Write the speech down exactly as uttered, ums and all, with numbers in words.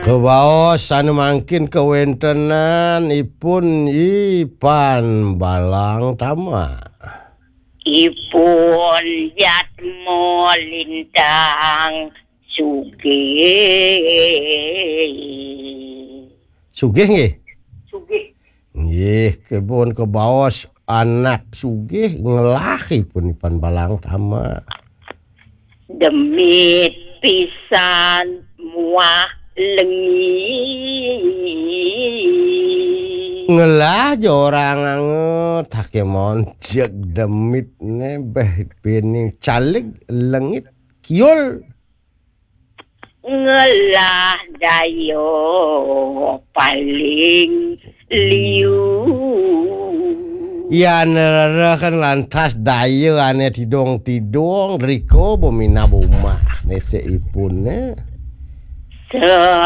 Baos anu mangkin kawéntenan ipun I Pan Balang Tama. Ipun Jatmo Lintang Sugih. Sugih nggih? Sugih. Nggih, kebon kebaos anak sugih ngelah ipun I Pan Balang Tama. Demit pisan muah lengi. Ngelah ja orang anget, hake mon jeg demit né béh pining caleg lengit kiul. Ngelah daya paling liu. Ya nerereh kan lantas daya ané tidung-tidung, riko beminab umah né seipun né.